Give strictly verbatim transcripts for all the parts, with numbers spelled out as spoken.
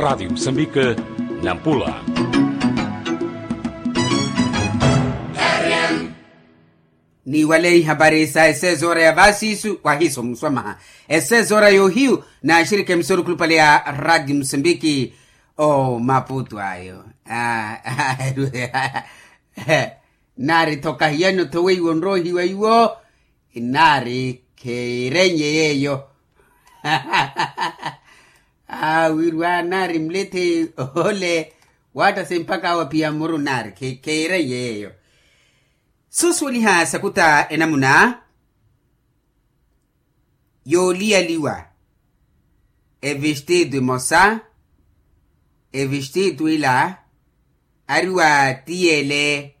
Raadio musambika, nampula. Niiwale ihapari sa esezoora ya vaasiisu wahiiso muswamaha. Esezoora yoohiyu naaxirike musorukhulupale ya raadio musambiki. Omaputu ayo. Naari tho kahiyano tho weiwo nroohiwa iwo. Inaari khiirenye yeeyo. Wirwa naari mlethe ole. Waattase mpakha awo aphiya muru naari khiirenye yeeyo. Suusuweliha sakuta enamuna yooliyaliwa. Evistiitu emosa evistiitu ila ari wa tiyele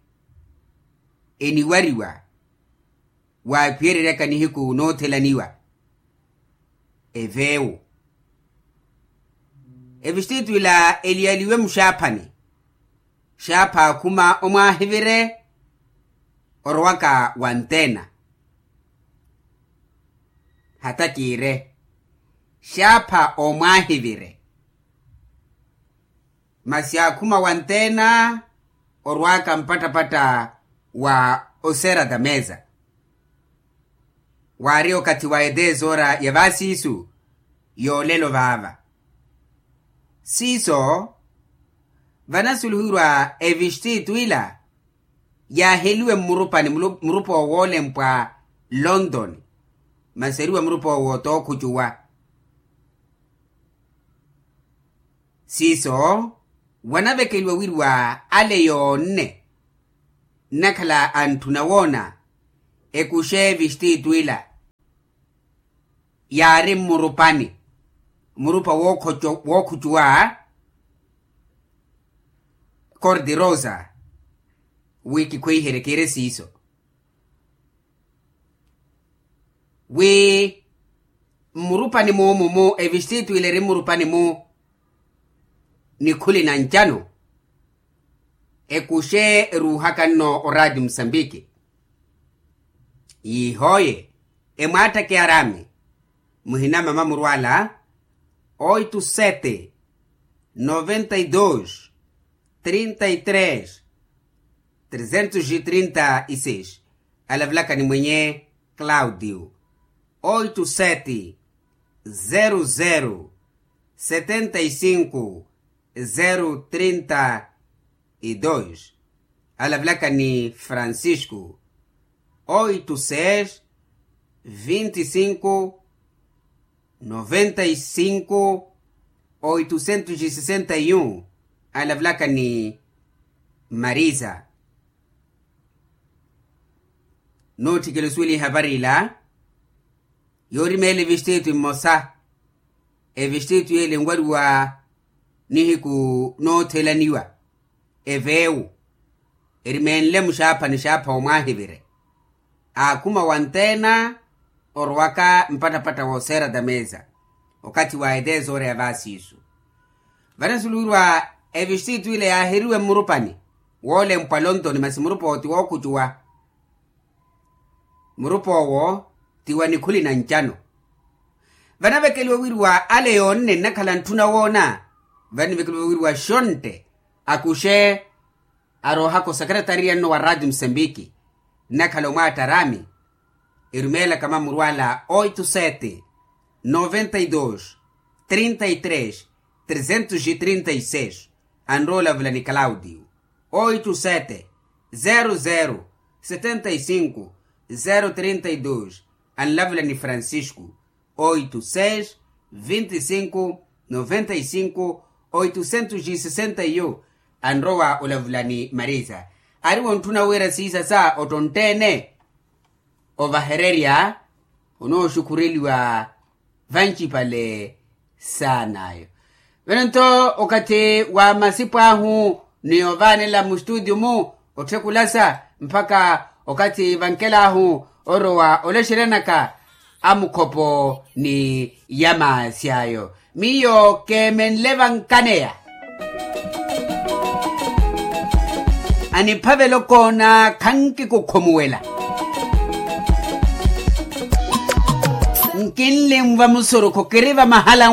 eniwariwa waaphiyereryaka nihiku noothelaniwa. Eveewo evistiitu ila eliyaliwe muxaaphani. Xaapha akhuma omwaahivire orowaka wa ntena. Hata kiire xaapha omwaahivire. Masi akhuma wa ntena orwaaka mpattapatta wa oseera tameza. Waari okathi wa eteesoora ya vaasiisu yoolelo vaava. Siiso vanasulihiwa evistiitu ila yaaheliwe mmurupani murupa owoolempwa londoni. Masi eriwa murupa owo tookhucuwa. Siiso wanavekeliwa wiriwa ale yoonne nnakhala antthuna woona ekuxe evistiitu ila yaari mmurupani murupa wookhucuwa. Kordi rosa wi kikhweiherye kiire siiso wi mmurupani-mu mumu evistiitu ile eri mmurupani-mu nikhuli na ncano ekuxe eruuhaka nno oraati musambiki. Yiihooye emwaattake araami muhina mama murwala oitu sete noventa y dos trinta y tres trezentos y trinta y seis. Alavelaka ni mwenye claudio oitu sete zero zero setenta y cinco zero trinta y dos. Alavelaka ni francisco oitu seis vinte y cinco noventa y cinco oitocentos y sessenta y um. Alavelaka ni marisa. Nootthikela osuweliha ehavari ila yoorimeela evistiitu mmosa. Evistiitu yeele enwariwa nihiku noothelaniwa eveewo erimeenle muxaaphani xaapha omwaahivire. Aakhuma wanteena orowaka mpattapatta wooseera tameza okathi wa eteesoora ya vaasiisu. Vanasuliwirwa evistiitu ile yaaheriwe mmurupani woolempwa lontoni masi murupa owo ti wookhucuwa. Murupa owo ti wa nikhuli na ncano. Vanavekeliwa wiriwa ale yoonne nnakhala ntthuna woona. Vanivekeliwa wiriwa xontte akuxe aroohaka osekretariyano wa raati musambiki nnakhala omwaatta araami erumeelaka mamurwala oito sete noventa y dos trinta y tres trezentos y trinta y seis. Anrowa olavula ni claudio oito sete zero zero setenta y cinco zero trinta y dos. Anlavula ni francisco oito seis vinte y cinco noventa y cinco oitocentos y sessenta y um. Anrowa olavula ni marisa ari wontthuna wira siisasa ottontteene ovahererya onooxukhureliwa vancipale saan'ayo. Vano nto okathi wa masipu ahu ni ovaanela mustutio-mu otthe kulasa mpakha okathi vankel'ahu orowa olexeryanaka a mukhopo ni ya maasi ayo. Miyo keemenle vankaneya aniphavela okoona khankikukhomuwela. Nkinlinva musurukhu kiri vamahala.